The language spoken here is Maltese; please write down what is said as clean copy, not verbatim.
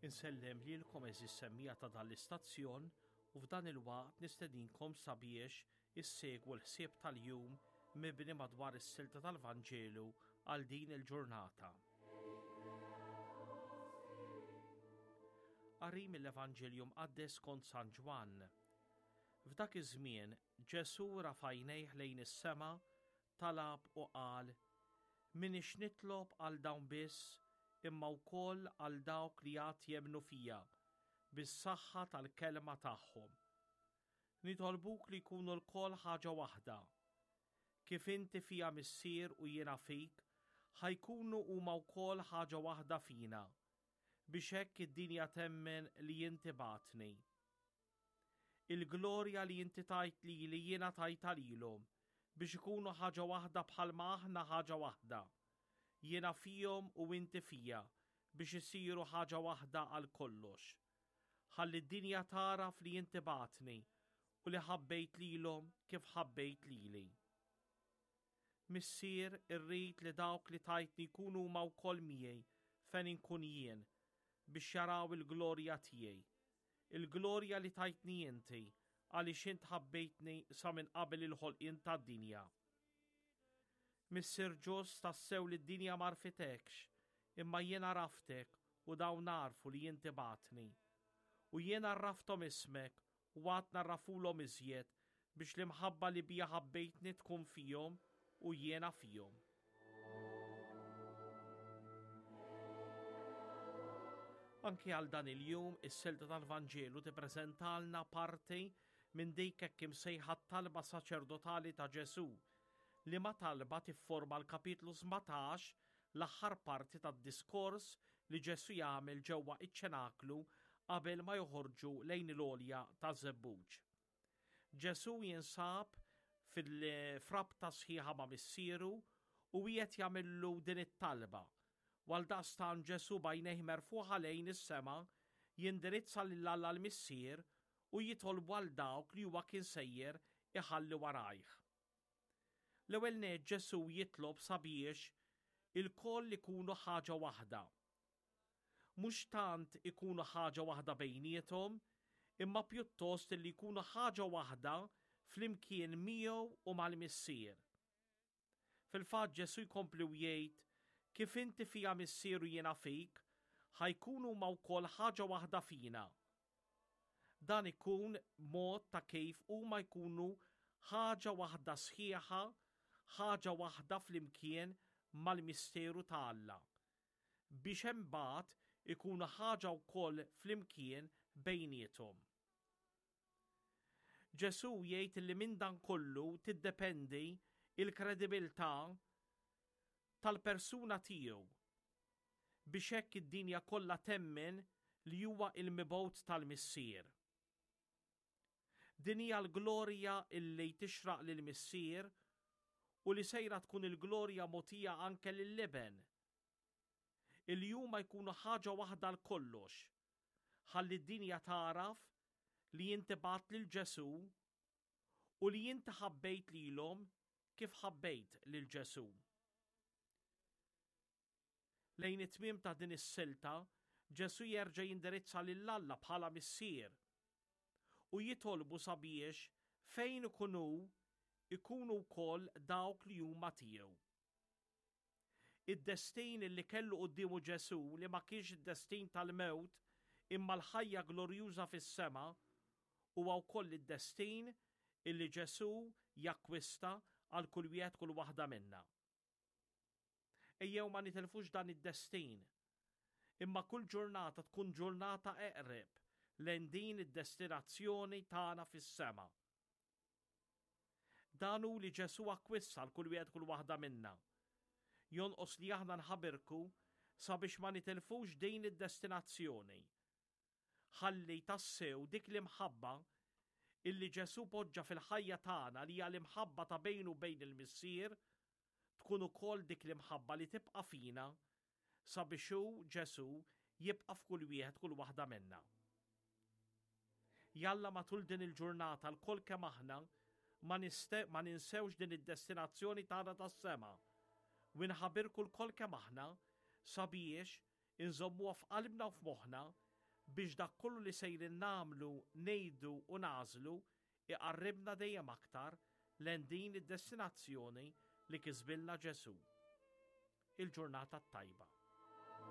Insellem lilkom għeżież semmiegħa ta' dan l-istazzjon u f'dan il-waqt nistedinkom sabiex issegwu l-ħsieb tal-jum mibni madwar is-silta tal-Vanġelu għal din il-ġurnata. Qari mill-Evanġelju Mqaddes skont San Ġwann. F'dak iż-żmien Ġesù rafa' għajnejh lejn is-sema, talab u qal, M'iniex nitlob għal dawn biss, imma wkoll għal dawk li għad jemmnu fija, bis-saħħa tal-kelma tagħhom. Nitolbuk li jkunu lkoll ħaġa waħda. Kif inti fija Missier u jiena fik, ħa jkunu huma wkoll ħaġa waħda fina, biex hekk id-dinja temmen li inti bgħattni. Il-glorja li inti tajt lili jiena tajtha lilhom, biex ikunu ħaġa waħda bħalma aħna ħaġa waħda. Jiena fihom u inti fija, biex isiru ħaġa waħda għal kollox. Ħalli d-dinja tagħraf li inti bgħattni u li ħabbejt lilhom kif ħabbejt lili. Missier, irrid li dawk li tajtni jkunu huma wkoll miegħi fejn inkun jien, biex jaraw il-glorja tiegħi. Il-glorja li tajtni inti, għaliex int ħabbejtni sa minn qabel il-ħolqien tad-dinja. Missier ġust, tassew li d-dinja m'għarfitekx, imma jien għaraftek u dawn għarfu li inti bgħattni. U jien għarrafthom ismek u għad ngħarrafulhom iżjed biex l-imħabba li biha ħabbejtni tkun fihom u jiena fihom. Anki għal dan il-jum, is-silta tal-Vanġelu tippreżentalna parti minn dik hekk imsejħa t-talba saċerdotali ta' Ġesù, liema talba tifforma l-kapitlu 17, l-aħħar parti tad-diskors li Ġesù jagħmel ġewwa iċ-ċenaklu qabel ma joħorġu lejn il-għolja taż-Żebbuġ. Ġesù jinsab fil-frabta sħiħa ma' Missieru u qiegħed jagħmillu din it-talba. U għaldaqstant Ġesù b'għajnejh merfugħa lejn is-sema jindirizza lil Alla l-Missier u jitolbu għal dawk li huwa kien sejjer iħalli warajh. L-ewwel nett Ġesù jitlob sabiex ilkoll ikunu ħaġa waħda. Mhux tant ikunu ħaġa waħda bejniethom, imma pjuttost illi jkunu ħaġa waħda flimkien miegħu u mal-Missier. Fil-fatt Ġesù jkompli u jgħid, Kif inti fija Missier u jiena fik, ħa jkunu huma wkoll ħaġa waħda fina. Dan ikun mod ta' kif huma jkunu ħaġa waħda sħiħa, ħaġa waħda flimkien mal-misteru ta' Alla, biex imbagħad ikunu ħaġa wkoll flimkien bejniethom. Ġesù jgħid li minn dan kollu tiddependi il-kredibilità tal-persuna tiegħu biex hekk id-dinja kollha temmen li huwa il-mibgħut tal-Missier. Din hija l-glorja illi tixraq lill-Missier u li sejra tkun il-glorja mogħtija anke lill-Iben. Illi huma jkunu ħaġa waħda għal kollox, ħalli d-dinja tagħraf li inti bgħatt lil Ġesù u li inti ħabbejt lilhom kif ħabbejt lil Ġesù. Lejn it-tmiem ta' din is-silta, Ġesù jerġa' jindirizza lil Alla bħala Missier u jitolbu sabiex fejn ikun hu ikunu wkoll dawk li huma tiegħu. Id-destin li kellu quddiemu Ġesù li ma kienx id-destin tal-mewt imma l-ħajja glorjuża fis-sema huwa wkoll id-destin illi Ġesù jakkwista għal kull wieħed kull waħda minna. Ejjew ma nitilfux dan id-destin. Imma kull ġurnata tkun ġurnata eqreb lejn din id-destinazzjoni tagħna fis-sema. Dan hu li Ġesù akkwista għal kull wieħed kull waħda minna. Jonqos li aħna nħabirku sabiex ma nitilfux din id-destinazzjoni. Ħalli tassew dik l-imħabba illi Ġesù poġġa fil-ħajja tagħna li hija l-imħabba ta' bejnu u bejn il-Missier tkun ukoll dik l-imħabba li tibqa' fina sabiex hu, Ġesù, jibqa' f'kull wieħed kull waħda minna. Jalla matul din il-ġurnata lkoll kemm aħna ma, ma ninsewx din id-destinazzjoni tagħna tas-sema u nħabirku lkoll kemm aħna sabiex inżommuha f'qalbna u f'moħħna biex dak kollu li sejrin nagħmlu, ngħidu u nagħżlu iqarribna dejjem aktar lejn din id-destinazzjoni li kisbilna Ġesù. Il-ġurnata t-tajba.